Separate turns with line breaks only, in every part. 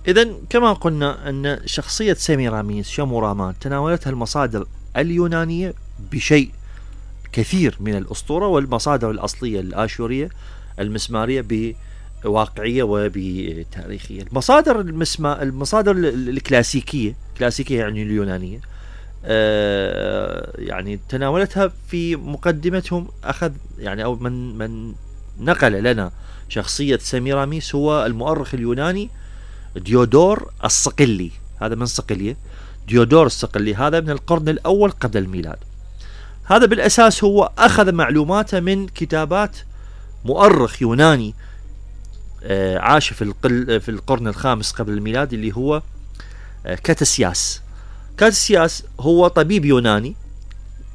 إذن كما قلنا أن شخصية سيميراميس شامورامات تناولتها المصادر اليونانية بشيء كثير من الأسطورة، والمصادر الأصلية الآشورية المسمارية بواقعية وبتاريخية. المصادر الكلاسيكية يعني اليونانية، يعني تناولتها في مقدمتهم. أخذ يعني أو من نقل لنا شخصية سيميراميس هو المؤرخ اليوناني ديودور الصقلي. هذا من صقلية، ديودور الصقلي، هذا من القرن الأول قبل الميلاد. هذا بالأساس هو أخذ معلوماته من كتابات مؤرخ يوناني عاش في القرن الخامس قبل الميلاد، اللي هو كاتسياس. كاتسياس هو طبيب يوناني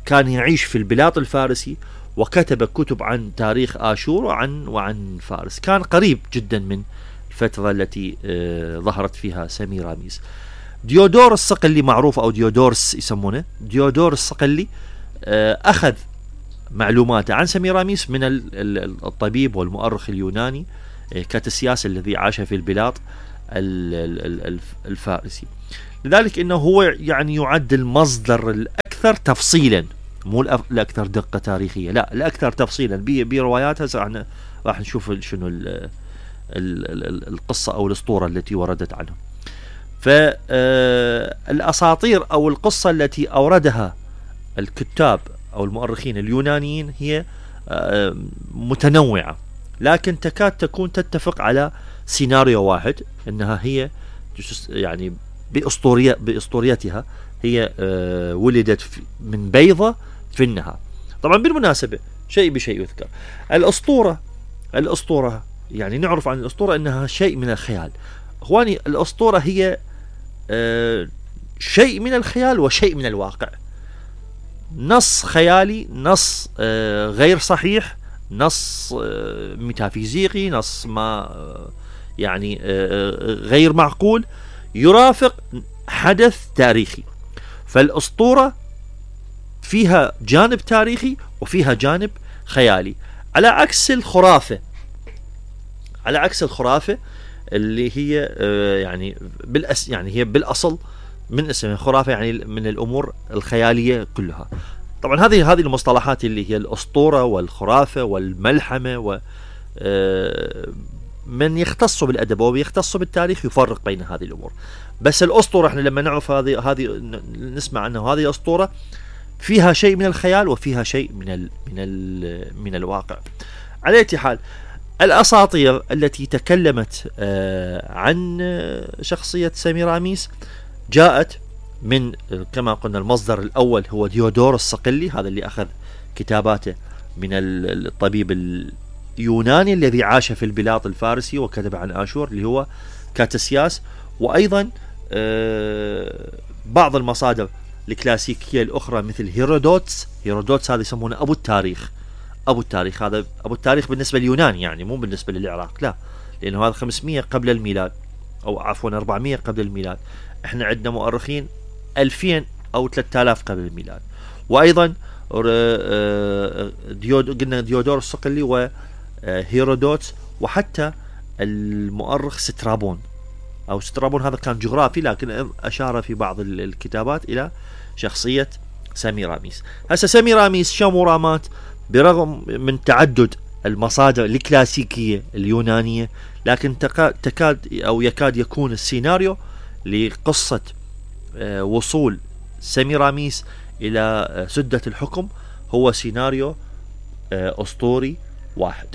كان يعيش في البلاط الفارسي، وكتب كتب عن تاريخ آشور وعن فارس. كان قريب جدا من الفترة التي ظهرت فيها سيميراميس. ديودور الصقلي معروف، أو ديودورس يسمونه، ديودور الصقلي أخذ معلوماته عن سيميراميس من الطبيب والمؤرخ اليوناني كاتسياس الذي عاش في البلاط الفارسي. لذلك إنه هو يعني يعد المصدر الأكثر تفصيلا، مو الأكثر دقة تاريخية، لا، الأكثر تفصيلا برواياتها. راح نشوف شنو القصة أو الأسطورة التي وردت عنه. فالأساطير أو القصة التي أوردها الكتاب أو المؤرخين اليونانيين هي متنوعة، لكن تكاد تكون تتفق على سيناريو واحد، أنها هي يعني بأسطوريتها هي ولدت من بيضة في النهر. طبعا بالمناسبة شيء بشيء يذكر، الأسطورة يعني نعرف عن الأسطورة أنها شيء من الخيال. أخواني، الأسطورة هي شيء من الخيال وشيء من الواقع، نص خيالي، نص غير صحيح، نص ميتافيزيقي، نص ما يعني غير معقول، يرافق حدث تاريخي. فالأسطورة فيها جانب تاريخي وفيها جانب خيالي، على عكس الخرافة اللي هي يعني هي بالأصل من اسمها خرافة، يعني من الأمور الخيالية كلها. طبعا هذه المصطلحات اللي هي الأسطورة والخرافة والملحمة، من يختص بالأدب ويختص بالتاريخ يفرق بين هذه الأمور. بس الأسطورة احنا لما نعرف هذه نسمع عنها، هذه الأسطورة فيها شيء من الخيال وفيها شيء من الواقع. على أي حال، الأساطير التي تكلمت عن شخصية سيميراميس جاءت من كما قلنا المصدر الأول هو ديودور الصقلي، هذا اللي أخذ كتاباته من الطبيب اليوناني الذي عاش في البلاط الفارسي وكتب عن آشور اللي هو كاتسياس. وأيضا بعض المصادر الكلاسيكية الأخرى مثل هيرودوتس هذا يسمونه أبو التاريخ. هذا أبو التاريخ بالنسبة لليونان، يعني مو بالنسبة للعراق، لا، لأنه هذا 500 قبل الميلاد، أو عفوا 400 قبل الميلاد. احنا عندنا مؤرخين 2000 أو 3000 قبل الميلاد. وأيضا قلنا ديودور الصقلي وهيرودوتس، وحتى المؤرخ سترابون هذا كان جغرافي، لكن أشار في بعض الكتابات إلى شخصية سيميراميس. هسه سيميراميس شامورامات برغم من تعدد المصادر الكلاسيكية اليونانية، لكن يكاد يكون السيناريو لقصة وصول سيميراميس إلى سدة الحكم هو سيناريو أسطوري واحد.